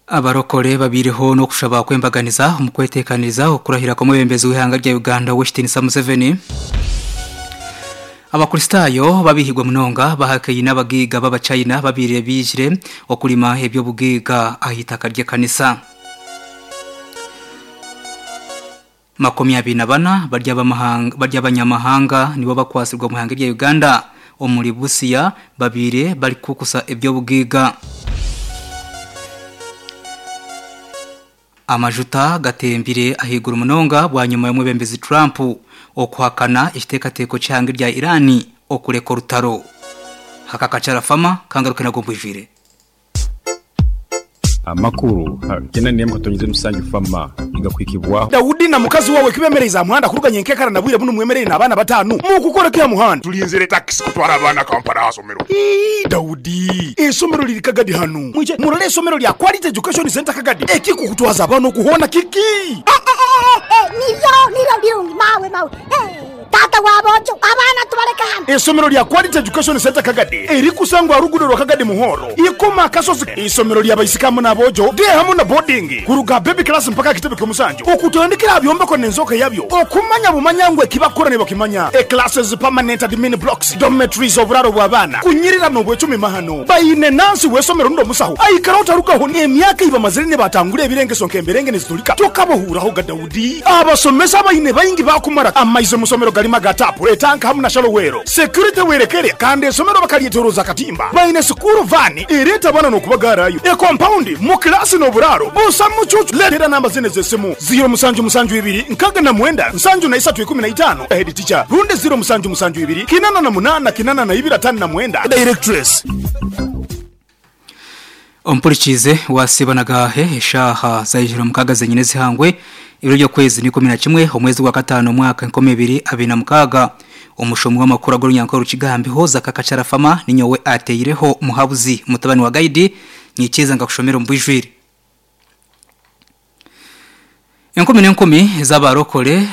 Abarokore babaireho n'okushaba kw'embaganiza omu kweteekaniriza okurahira kw'omwebembezi w'eihanga rya Uganda Ow'ekitiinisa Museveni. Abakristaayo babiihirwe munonga bahakaine abagaiga b'Abachina babaire baijire okurima eby'obugaiga aha itaka ry'ekanisa. 24 bari abanyamahanga nibo bakwatsirwe omu ihanga rya Uganda omuri Busia babaire barikukusa eby'obugaiga. Amajuta gatembire ahaiguru munonga bwanyima y'omwebembezi Trump okuhakana ekiteekateeko ky'eihanga rya Iran okureka orutaro. Aka Kakyara Farmer kangaruke nago mbwijwire. Amakuru gena nemu katonyize musanju fama nigakuhikibwaho. Daudi na mukazi wawe kibemereize aha muhanda kuruga nyenkekara na bwire bunu mwemereire n'abaana batanu. Mukukora ki aha muhanda? Tulinzire takisi kutwara abaana Kampala aha somero. Ii, Daudi, eisomero liri Kagadi hanu. Mwije murole eisomero lya Quality Education Centre Kagadi. Ekikukutwaza abaana oku hoona kiki? Eh, eh, eh, eh, nibyo, nibyo birungi, mawe, mawe. Eh. Taata wa boojo, abaana tubaleke hanu. Eisomero lya Quality Education Centre Kagadi erikusangwa aha ruguudo rwa Kagadi Muhoro, Ikoma Akasozi. Eisomero lya baisiki hamu n'aboojo, day hamu na boarding, kuruga aha baby class mpaka aha kitebe ky'omusanju. Okutandikira aha byombeko n'enzooka yabyo, okumanya bumanya ngu eki bakukora nibakimanya. E Classes, permanent admin blocks, dormitories, oburaaro bw'abaana, kunyirira n'obwecumi mahano. Baine nansi w'eisomero rundi omusaho aikaraho tarugaho n'emyaka ei bamazire nibatangura ebirengeso nk'emberenge niziturika tokabohuuraho ga Daudi. Abasomesa abaine baingi baakumara amaizi omu somero garimu aga taapu, etanka hamu na shalowero. Security werekere kandi esomero bakaryetoroza akatimba. Baine sikuuru vaani ereeta abaana n'okubagaarayo. Ekompaundi, mu kilaasi n'oburaaro busa mucuucu. Leetera namba zinu ez'esimu, ziiro musanju musanju ibiri nkaaga na mwenda nsanju na isatu ikumi na itaano, Head teacher, rundi ziiro musanju musanju ibiri kinana na munaana kinana na ibiri ataano na mwenda, Directress. Ompurikiize waasiiba na gaahe eshaaha za ijura mukaaga zenyine ezihangwe ebiro by'okwezi ni 11 omwezi gwa kataano omwaka 2026. Omushomi w'amakuru ag'orunyankore Rukigambiho Zaka Kacharafama ninyowe ateireho Muhabuzi mutabani wa Gaidi nyikiriza nkakushomera omu bwijwire. Enkumi n'enkumi z'abarokore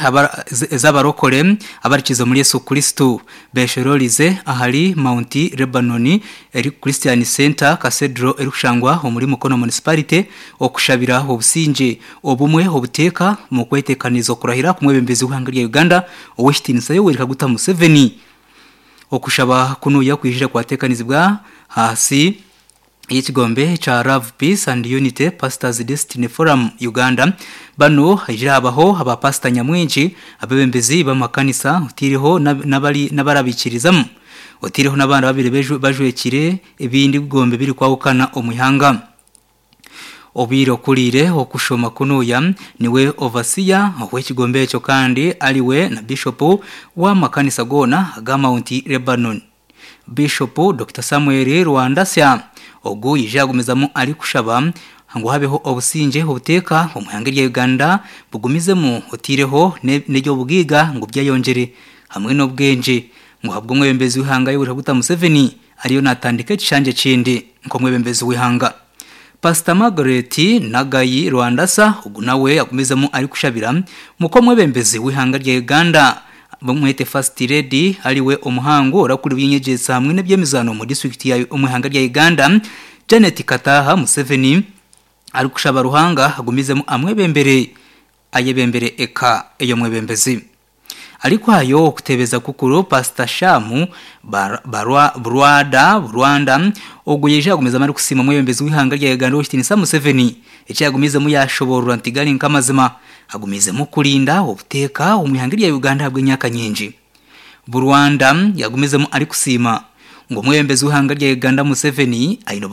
z'abarokore abarikiza omuri Yesu Kristo beshororize ahari Mount Lebanon eri Christian Centre Cathedral erikushangwa omuri Mukono Municipality okushabira obusingye, obumwe, obuteeka omu kwetekaniriza okurahira kw'omwebembezi w'eihanga rya Uganda Ow'ekitiinisa Yoweri Kaguta Museveni. Okushaba kunuya kwijire kwatekanizibwa ahansi ey'ekigombe ekya Love, Peace and Unity Pastors Destiny Forum Uganda. Banu haijire habaho aba pasita nyamwingi, abebembezi b'amakanisa otaireho n'abarabaikirizamu otaireho n'abandi ababaire bajwekire ebindi bigombe ebirikwahukana omu ihanga. Obaire okuriire okushoma kunuya niwe Overseer ow'ekigombe ekyo kandi ariwe na Bishop w'amakanisa goona aga Mount Lebanon. Bishopu Dokita Samuel Rwandasya ogu yaija yagumizamu arikushaba ngu habeho obusingye obuteeka omu ihanga erya Uganda bugumizemu oteireho n'eby'obugaiga ngu byeyongyere hamwe n'obwengye ngu ahabw'omwebembezi w'eihanga Yoweri Kaguta Museveni ariyo natandika ekishangye ekindi nk'omwebembezi w'eihanga. Pasita Margaret Nagayi Rwandasa ogu nawe agumizemu arikushabira muk'omwebembezi w'eihanga rya Uganda bamwete First Lady ariwe omuhangu orakura eby'enyegyesa hamwe n'eby'emizaano omu disiturikiti ya omu ihanga rya Uganda Janet Kataha Museveni arikushaba Ruhanga agumizemu amwebembere ayebembere eka ey'omwebembezi. Arikuhayo okutebeza kukuru, Pasita Shaamu Barwada Rwanda ogwo yaija yagumizamu arikusiima omwebembezi w'eihanga rya Uganda Ow'ekitiinisa Museveni eki yagumiizemu yashoboorora nti gari nk'amazima agumiizemu kurinda obuteeka omu ihanga rya Uganda ahabw'emyaka nyingi. Burwanda yagumizemu arikusiima ngu omwebembezi w'eihanga rya Uganda Museveni aine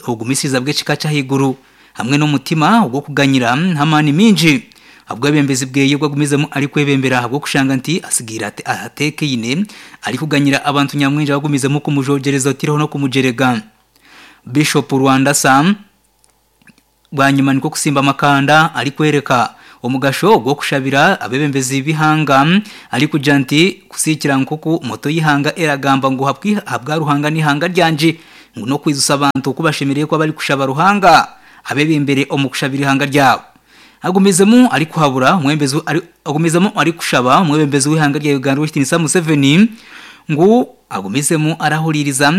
obugumisiriza bw'ekika ky'ahaiguru hamwe n'omutima ogw'okuganyira n'amaani maingi ahabw'obwebembezi bweye obu agumizemu arikwebembera ahabw'okushanga nti asigaire ateekaine arikuganyira abantu nyamwingi abagumizemu kumujogyereza otaireho n'okumugyerega. Bishop Rwandasa bwanyima nikwo kusimba amakanda arikworeka omugasho gw'okushabira abeebembezi b'eihanga arikugira nti kusiikira nk'oku moto y'eihanga eragamba ngu ahabwa Ruhanga n'eihanga ryangye ngu n'okwijutsya abantu oku bashemereire kuba barikushaba Ruhanga abeebembere omu kushabira eihanga ryabo. Agumizemu arikuhabura omwebembezi agumizemu arikushaba omwebembezi w'eihanga rya Uganda Ow'ekitiinisa Museveni ngu agumizemu arahuriiriza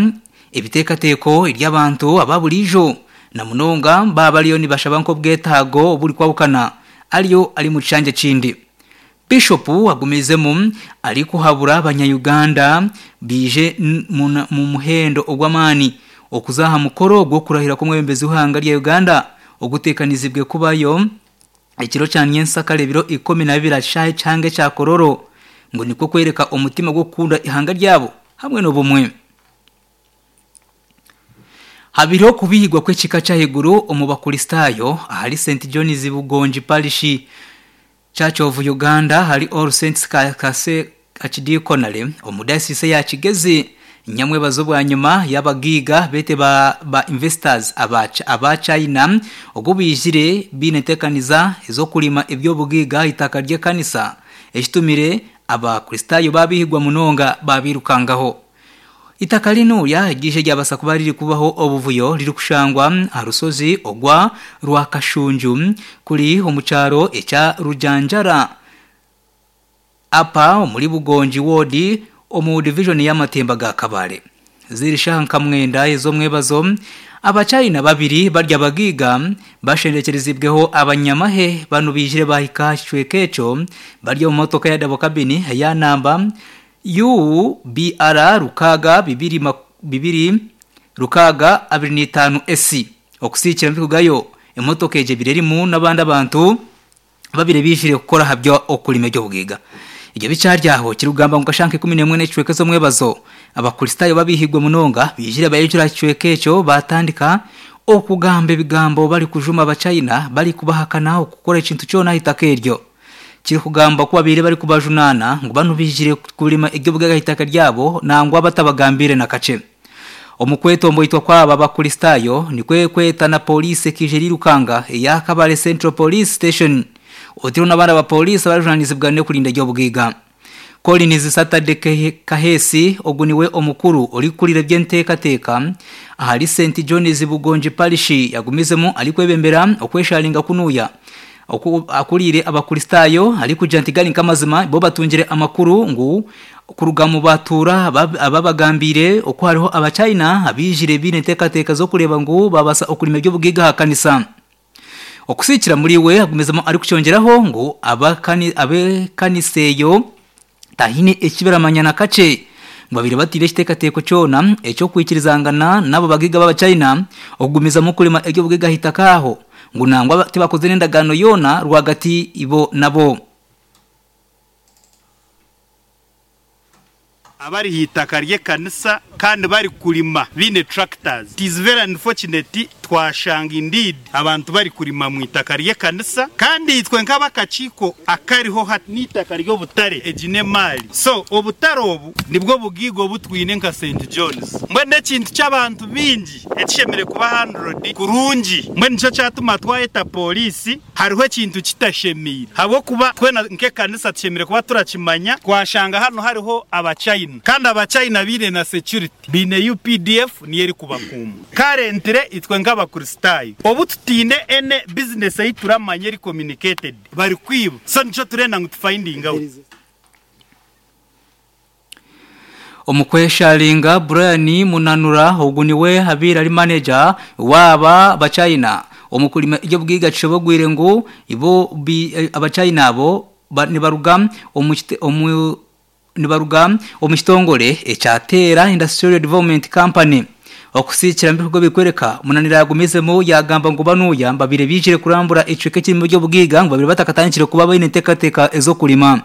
ebiteekateeko eby'abantu aba buriijo. Na munonga baaba bariyo nibashaba nk'obwetaago oburikwahukana ariyo ari mu kishangye ekindi. Bishopu agumizemu arikuhabura abanya-Uganda baije mu muhendo ogw'amaani okuza aha mukoro gw'okurahira kw'omwebembezi w'eihanga rya Uganda oguteekanizibwe kubayo ekiro kya nyensakare ebiro 12 aha kishaayi kihango ekya Kololo ngu nikwo kworeka omutima gw'okukunda eihanga ryabo hamwe n'obumwe. Habaireho okubihigwa kw'ekika ky'ahaiguru omu bakuristaayo ahari St John's Bugongi Parish Church of Uganda ahari All Saints Kase Archdeaconry omu Dayosiisi eya Kigezi nyamwebazo bwanyima y'abagaiga beete ba ba investors aba aba China ogu baijire baine enteekaniza ez'okurima eby'obugaiga aha itaka ry'ekanisa ekitumire abakristaayo baabihigwa munonga baabiirukangaho. Itaka rinuya eriije ryabasa kuba riri kubaho obuvuyo ririkushangwa aha rushozi ogwa Rwakashunju kuri omu kyaro ekya Rujanjara Upper omuri Bugongi ward omu divijoni y'amatemba ga Kabale. Ziri shaaha nka mwenda ez'omwebazo, Abachina babiri bari abagaiga bashendekyerezibweho abanyamahe banu baijire bahika aha kicweka ekyo bari omu motoka ya dabo kabini eya namba UBR 6 26 S Okusiikira mbikugayo, emotoka egyo ebaire erimu n'abandi abantu ababire baijire kukora aha by'okurima eby'obugaiga. Ebyo bikyari aho, kirikugamba ngu kashaaha nka 11 n'ekicweka ez'omwebazo, Abakristaayo babiihirwe munonga baijire bayijura aha kicweka ekyo baatandika okugamba ebigambo barikujuma Abachina barikubahakana okukora ekintu kyona aha itaka eryo. Kirikugambwa ku babaire barikubajunaana ngu banu baijire kurima eby'obugaiga aha itaka ryabo nangwa batabagambiire na kakye. Omu kwetomboitwa kw'aba Bakristaayo nikwo kweta na pooriisi ekaija erirukanga eya Kabale Central Police Station otaireho n'abandi abapooriisi abarikujunaanizibwa n'okurinda eby'obugaiga. Collins Saturday Kaheesi ogu niwe omukuru orikukurira eby'enteekateeka ahari St John's Bugongi Parish yagumizemu arikwebembera okwesharinga kunuya oku akuriire Abakristaayo arikugira nti gari nk'amazima bo batungire amakuru ngu kuruga omu batuura ababagambiire oku hariho Abachina abaijire baine enteekateeka z'okureeba ngu babaasa okurima eby'obugaiga aha kanisa. Okusiikira muri we agumizemu arikukyongyeraho ngu ab'ekanisa eyo tahaine eki baramanya na kakye ngu babaire bataine ekiteekateeko kyona eky'okwikirizangana n'abo bagaiga b'Abachina okugumizamu kurima eby'obugaiga aha itaka aho ngu nangwa tibakozire n'endagaano yoona rwagati bo nabo. Abari aha itaka ry'ekanisa kandi bari kurima baine tractors. It is very unfortunate twashanga indeed abantu bari kurima mu itaka ry'ekanisa kandi itwe nk'abakakiiko akariho hati n'eitaka ry'obutare egi n'emaari so obutare obu nibwo bugaiga obu twine nka Saint John's mbwenu n'ekintu ky'abantu baingi ekishemereire kuba handled kurungi mbwenu nikyo kyatuma twayeta pooriisi. Hariho ekintu kitashemeire ahabw'okuba twena nk'ekanisa tushemereire kuba turakimanya twashanga hanu hariho Abachina kandi Abachina baine na security, baine UPDF niyo erikubakuuma. Currently itwe nk'Abakristaayo obu tutaine any business ei turamanya eri communicated barikwiba so nikyo turenda ngu tu finding out. Omu kwesharinga, Brian Munanura ogu niwe abaire ari maneja waaba Abachina omu kurima eby'obugaiga kishobogwire ngu bo Abachina abo nibaruga omu nibaruga omu kitongore ekya Teera Industrial Development Company. Okusiikira ebikorwa ebirikworeka, Munanira yagumizemu yagamba ngu banuya babaire baijire kurambura ekicweka ekirimu eby'obugaiga ngu babaire batakatandikire kuba baine enteekateeka ez'okurima.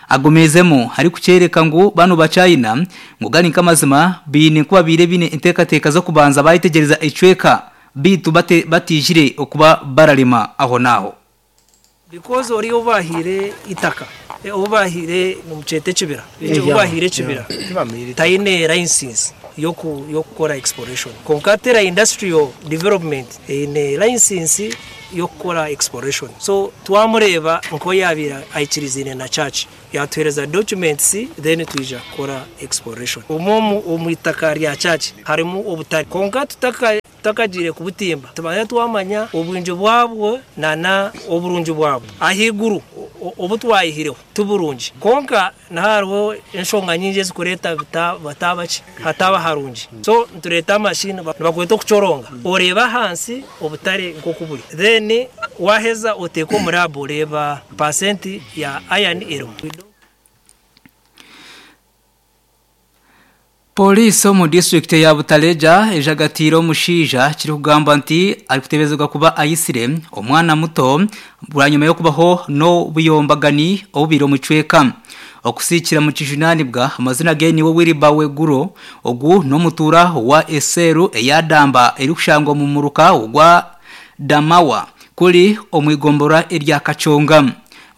Agumiizemu arikukyereka ngu banu Bachina ngu gari nk'amazima baine ku babaire baine enteekateeka z'okubanza bayetegyereza ekicweka beitu bataijire okuba bararema aho n'aho. Because oriya ou baahaire eitaka, ou baahaire nimukyeta ekibira, ou baahaire ekibira taine license y'okukora exploration. Kwonka Tera Industrial Development eine license y'okukora exploration. So twamureeba nk'oyaabaire aikirizaine na church, yaatuheereza documents then twija kukora exploration. Omwo omu itaka rya church harimu obutare kwonka tutakagiire kubutimba tubanze twamanya obwingi bwabwo nana oburungi bwabwo. Ahaiguru Obu twayihireho ti burungi kwonka niho hariho enshonga nyingi ezikureeta butaaba ki hataaba harungi. So nitureeta machine nibakweta okucoronga oreeba ahansi obutare nk'oku buri then waaheza oteeka omu lab oreeba percent ya iron erimu. Poliisi omu disiturikiti eya Butaleja ejagatiire omushaija kirikugambwa nti arikuteeberezibwa kuba aitsire omwana muto bwanyima y'okubaho n'obuyombagani obubaire omu kicweka. Okusiikira omu kijunaanibwa, amazina ge niwe Wilber Weguro, ogu n'omutuura wa eseeru eya Damba erikushangwa omu muruka gwa Damawa kuri omu igomborora erya Kachonga.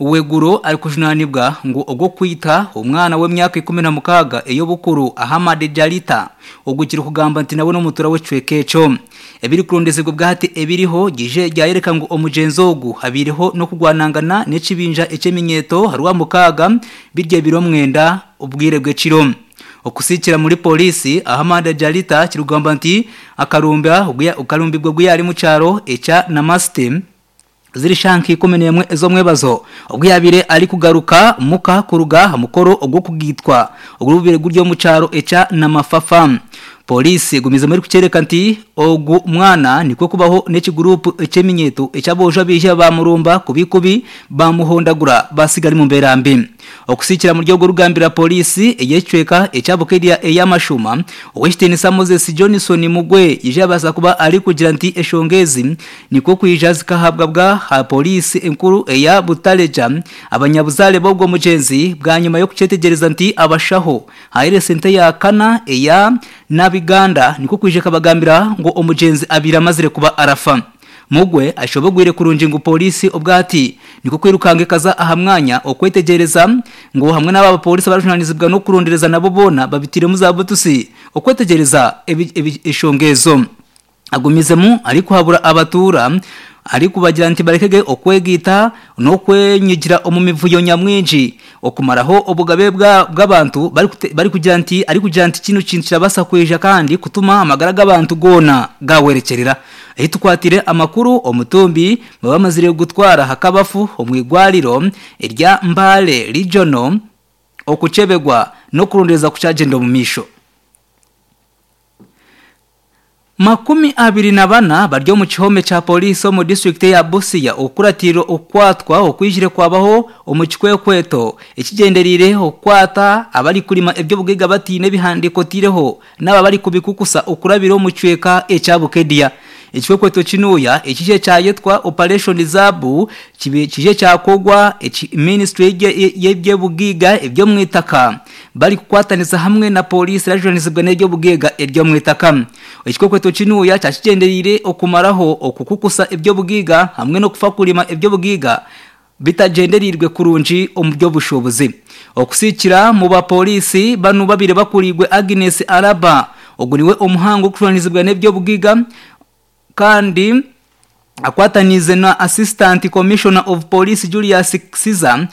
Weguro arikujunaanibwa ngu ogw'okwita omwana w'emyaka 16 ey'obukuru Ahamad Jalita ogu kirikugambwa nti nawe n'omutuura w'ekicweka ekyo. Ebirikurondezibwa obwahati ebiriho gije ryayoreka ngu omugyenzi ogu abaireho n'okugwanangana n'ekibinja eky'eminyeeto aha Rwamukaaga biri ebiro mwenda obwire bw'ekiro. Okusiikira muri Pooriisi, Ahamad Jalita kirikugambwa nti akarumbibwa ogu yaari omu kyaro ekya Namaste, Ziri shaaha nka 11 ez'omwebazo obu yaabaire arikugaruka muka kuruga aha mukoro ogw'okugaitwa oguribubaire guri omu kyaro ekya Namafafa. Pooriisi egumizemu erikukyoreka nti ogu mwana nikwo kubaho n'ekiguruupu eky'eminyeeto eky'aboojo abaija baamurumba kubi kubi baamuhondagura baatsiga ari mu mbeera mbi. Okusiikira muri ogwo rugambira Pooriisi ey'ekicweka ekya Bukedea ey'amashuuma, Ow'ekitiinisa Moses Johnson Mugwe yaija yabaasa kuba arikugira nti eshonga ezi Nikwo kwija zikahabwa bwa aha Poliisi enkuru eya Butaleja abanyabuzaare b'ogwo mugyenzi bwanyima y'okukyetegyereza nti abashaho haire sente ya kana eya Nabiganda nikwo kwija ekabagambira ngu omugyenzi abaire amazire kuba arafa. Mugwe ashobogwire kurungi ngu Poliisi obwati nikwo kwirukanga ekaza aha mwanya okwetegyereza ngu hamwe n'aba bapoliisi abarikujunanizibwa n'okurondereza nabo boona babiteiremu za butusi okwetegyereza eshonga ezo. Agumizemu arikuhabura abatuura arikubagira nti barekege okwegaita n'okwenyigira omu mivuyo nyamwingi okumaraho obugabe bw'abantu barikugira nti arikugira nti kinu kintu kirabaasa kwija kandi kutuma amagara g'abantu goona gahwerekyerera. Ahi tukwatire amakuru omutumbi baba bamazire kugutwara ahakabafu omu igwariro erya Mbale Regional okukyebegwa n'okurondereza kukyagyenda omu maisho. 24 bari omu kihome kya Poliisi omu disiturikiti eya Busia okukuratiirira okukwatwa okwijire kwabaho omu kikwekweto ekigyendereire okukwata abarikurima eby'obugaiga bataine ebihandiiko otaireho n'abo abarikubikukusa okurabira omu kicweka ekya Bukedia. Ekikwekweto kinuuya ekije kyayetwa Operation Zaabu kije kyakorwa minisiture y'eby'obugaiga eby'omwitaka barikukwatanisa hamwe na Poliisi erajunanizibwa n'eby'obugaiga eby'omwitaka. Ekikwekweto kinuuya kyakigyendereire okumaraho okukukusa eby'obugaiga hamwe n'okufa kurima eby'obugaiga bitagyendereirwe kurungi omu by'obushuubuzi. Okusiikira mu ba Poliisi banu babaire bakuriirwe Agnes Araba, ogu niwe omuhangu orikujunanizibwa n'eby'obugaiga kandi akwataniize na Assistant Commissioner of Police Julius Kisiza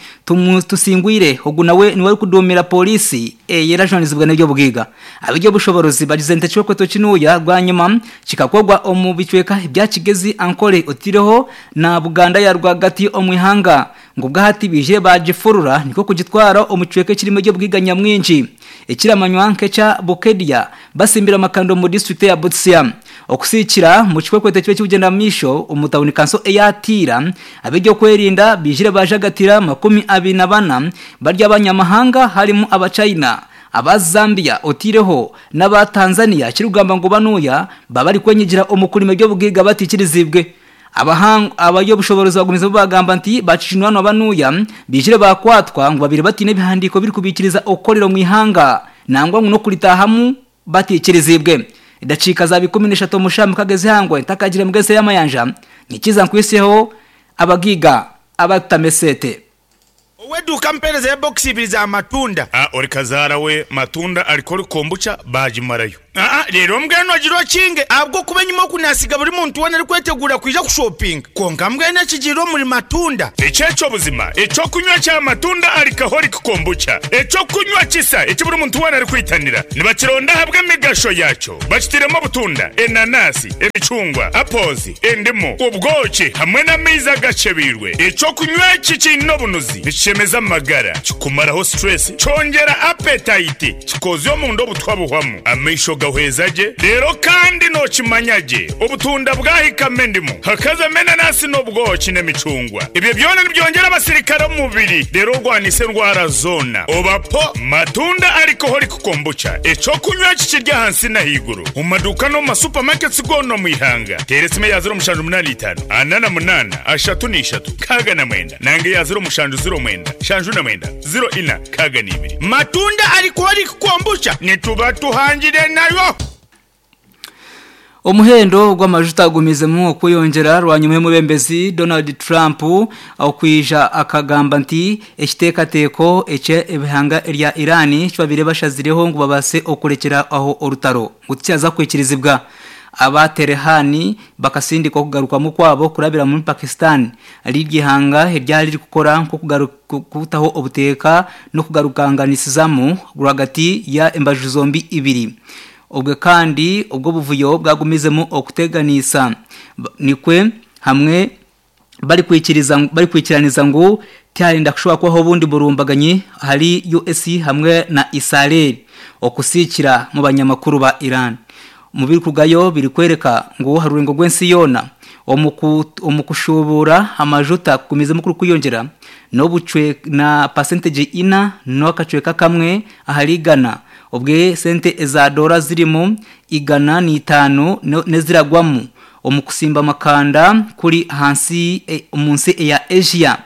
Tusingwire, ogu nawe niwe arikuduumira Poliisi eye erajunanizibwa n'eby'obugaiga. Ab'eby'obushoboorozi bagize nti ekikwekweto kinuuya bwanyima kikakorwa omu bicweka ebya Kigezi, Ankole otaireho na Buganda ya rwagati omu ihanga ngu obwahati baije baagifurura nikwo kugitwara omu kicweka ekirimu eby'obugaiga nyamwingi ekiramanywa nk'ekya Bukedia basimbire amakanda omu disiturikiti eya Busia. Okusiikira omu kikwekweto ekiba ekirikugyenda omu maisho omu tauni kanso eya Tiira, ab'eby'okwerinda baijire baajagatira 24 bari abanyamahanga harimu aba China, aba Zambia otaireho n'aba Tanzania ekirikugamba ngu banuuya baba barikwenyigira omu kurima eby'obugaiga bataikiriziibwe. Abary'obushoboorozi bagumizamu baagamba nti baakijunanwa banuuya baijire baakwatwa ngu babaire bataine ebihandiiko ebirikubaikiriza okukorera omu ihanga nangwa ngu n'okuritaahamu bataikiriziibwe. Edakiika zaaba 13 omu shaaha mukaaga ez'eihangwe ntakagiire mugezi y'amayanja, nyikiza nkwiseho abagaiga abarikutama eseete. Ow'eduuka ampeereza ebokisi ibiri za matunda. A Ori kazaara we matunda arikora kombucha baagimarayo. Aa, reero mbwenu ogire okinge ahabw'okuba enyima oku naasiga buri muntu weena arikweteguura kwija kushopinga. Kwonka mbwenu ekigiire omuri Matunda. Eki eky'obuzima, eky'okunywa kya Matunda Alcoholic Kombucha, eky'okunywa kisa eki buri muntu weena arikwitanira. Nibakironda ahabw'emigasho yaakyo. Bakitairemu obutunda, enanasi, emicungwa, apples, endimu, obwoki hamwe n'amaizi agakyebeirwe. Eky'okunywa eki kiine obunuzi, nikishemeza amagara, kikumaraho stress, kyongyera appetite, Kikoozya omunda obutwa buhwamu, amaisho gahweza gye, reero kandi nookimanya gye obutunda bwahikamu endimu, hakazamu enanasi n'obwoki n'emicungwa. Ebyo byona nibyongyera abasirikare omu mubiri reero orwanise endwara zoona. Oba po Matunda Alcoholic Kombucha, eky'okunywa eki kiri ahansi n'ahaiguru omu maduuka n'omu ma supermarkets goona omu ihanga. Teera esimu eya 0785 48 33 69 nanga eya 0709 79 04 62. Matunda Alcoholic Kombucha nituba tuhangire nayo. Omuhendo gw'amajuta gumizemu okweyongyera rwanyuma y'omwebembezi Donald Trump okwija akagamba nti ekiteekateeko eky'ebihanga erya Iran ekibabaire bashazireho ngu babaase okurekyera aho orutaro ngu tikyaza kwikirizibwa. Aba Tehran bakasindika okugarukamu kwabo kurabira omuri Pakistan riri eihanga eryari ririkukora nk'okutaho obuteeka n'okugarukanganisizamu rwagati ya embaju zombi ibiri. Obwe kandi obwo obuvuyo bwagumizemu okuteganiisa nikwe hamwe barikwikiraniza ngu tiharenda kushuba kubaho obundi burumbaganyi ahari US hamwe na Israel okusikira mu banyamakuru ba Iran. Omu birikurugayo birikworeka ngu aha rurengo rw'ensi yoona, omu kushubuura amajuta kugumizemu kurikweyongyera na pasentegi ina n'akacweka kamwe ahari igana obwe sente eza doora zirimu 105 n'eziragwamu omu kutsimba amakanda kuri ahansi omu nsi eya Asia.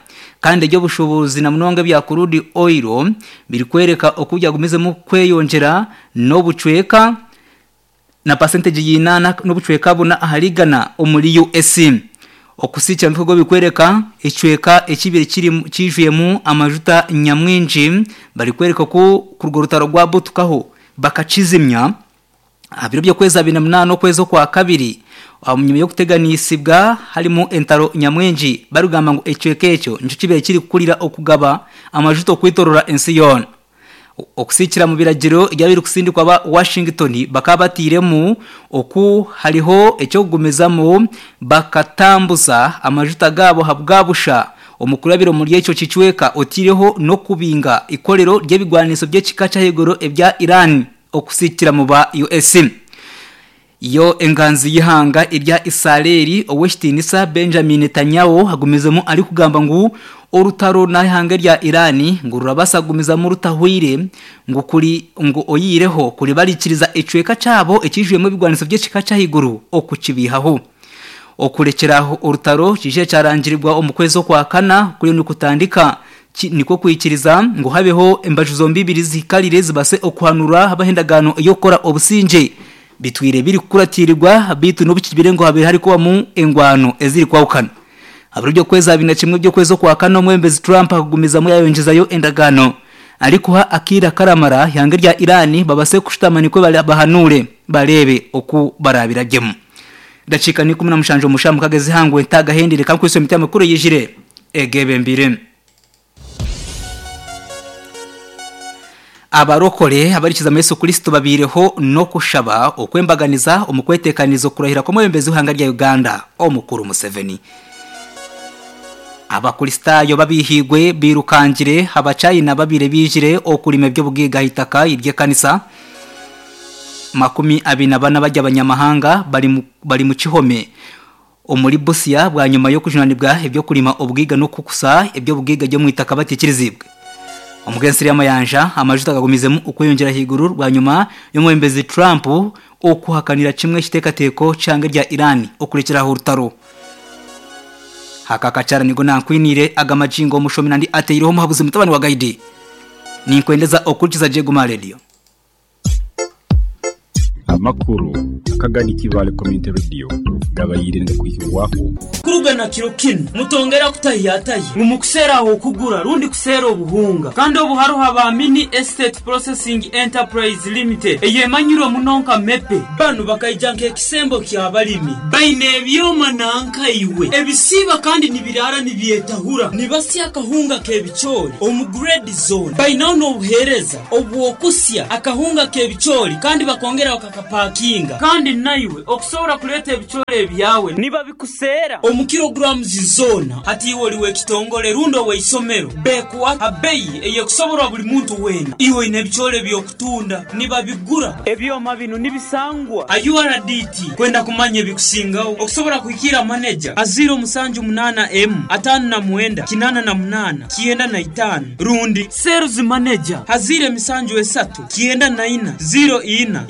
Kandi eby'obushuubuzi na munonga ebya crude oil birikworeka oku byagumizemu kweyongyera n'obucweka na pasentegi y'einaana n'obucweka buna ahari igana omuri US. Okusiikira omu bikworeka ekicweka ekibaire kiijwiremu amajuta nyamwingi barikworeka oku kuruga orutaro rwabutukaho bakakizimya aha biro by'okwezi 28 okwezi okwakabiri ahanyima y'okuteganisibwa harimu entaro nyamwingi barikugamba ngu ekicweka ekyo nikyo kibaire kirikukurira okugaba amajuta okwetorora ensi yoona. Okusiikira omu biragiro ebyabaire birikusindikwa aba Washington bakaba batairemu oku hariho eky'okugumizamu bakatambuza amajuta gaabo ahabwa busha omu kurabira omuri ekyo kicweka otaireho n'okubinga eikorero ry'ebigwaniso by'ekika ky'ahaiguru ebya Iran okusiikira mu ba US. Yo enganzi y'eihanga erya Israeli ow'ekitiinisa Benjamin Netanyahu agumizemu arikugamba ngu orutaro n'eihanga erya Iran ngu rurabaasa kugumizamu rutahweire ngu kuri ngu oyihireho kuri bariikiriza ekicweka kyabo ekiijwiremu ebigwaniso by'ekika ky'ahaiguru okukibiihaho. Okurekyera aho orutaro kiije kyarangirirwa omu kwezi okwakana kuriyo nikutandika Nikwo kwikiriza ngu habeho embaju zombi ibiri zihikarire zibase okuhanura habaho endagaano ey'okukora obusingye. Bitwire birikukuratirirwa beitu n'obu kibire ngu habaire harikubamu engwano ezirikwahukana. Aha biro by'okwezi 21 by'okwezi okwakana omwebembezi Trump akagumizamu yayongyezayo endagaano arikuha akaire akaramara eihanga erya Iran babase kushutama nikwo bahanure bareebe oku barabiragyemu. Edakiika ni 17 omu shaaha mukaaga ez'eihangwe ntagahendire kankwitse emiti amakuru eyijire egebembire. Abarokore abarikiza mu Yesu Kristo babaireho n'okushaba okw'embaganiza omu kweteekaniriza okurahira kw'omwebembezi w'eihanga rya Uganda, Omukuru Museveni. Abakristaayo babiihiigwe bairukangire Abachina ababaire baijire okurima eby'obugaiga aha itaka ry'ekanisa. 24 bari abanyamahanga bari mu kihome. Omuri Busia bwanyima y'okujunanibwa eby'okurima obugaiga n'okukusa eby'obugaiga by'omwitaka batiikiriziibwe. Omu g'ensiri y'amayanja, amajuta gagumizemu okweyongyera ahaiguru bwanyima y'omwebembezi Trump okuhakanira kimwe ekiteekateeko ky'eihanga erya Iran okurekyera aho orutaro. Aka akakyara nigo nankwiniire aga magingo omushomi nandi ateireho omuhabuzi mutabani wa Gaidi. Ninkwendeza okuhurikiza gye Guma Radio. Amakuru akagadi Kibaale Community Radio gabaire nigakwihibwaho. Kuruga na kiro kinu, mutongera kutahiyatahya ngu mukuseera ah'okugura rundi kuseera obuhunga. Kandi obu haroho aba Mini Estate Processing Enterprise Limited eyemanyirwe muno nka MEPE. Banu bakaija nk'ekisembo ky'abalimi. Baine ebyoma nanka iwe ebisiiba kandi nibiraara nibyetahura. Nibasya akahunga k'ebicoori omu grade zoona. Bainaho n'obuheereza obw'okusya akahunga k'ebicoori kandi bakongera bakakapakinga. Kandi naiwe okusobora kureeta ebicoori ebyawe nibabikuseera omu kilograms zoona. Hati iwe ori w'ekitongore rundi ow'eisomero, beekuha ha beyi ey'ekusoborwa buri muntu weena. Iwe oine ebicoori eby'okutunda, nibabigura. Ebyoma binu nibisangwa ha URDT. Kwenda kumanya ebikusingaho, okusobora kuhikiira maneja ha 078 emu 59 88 95 rundi Sales Manager ha 073 94 04 10.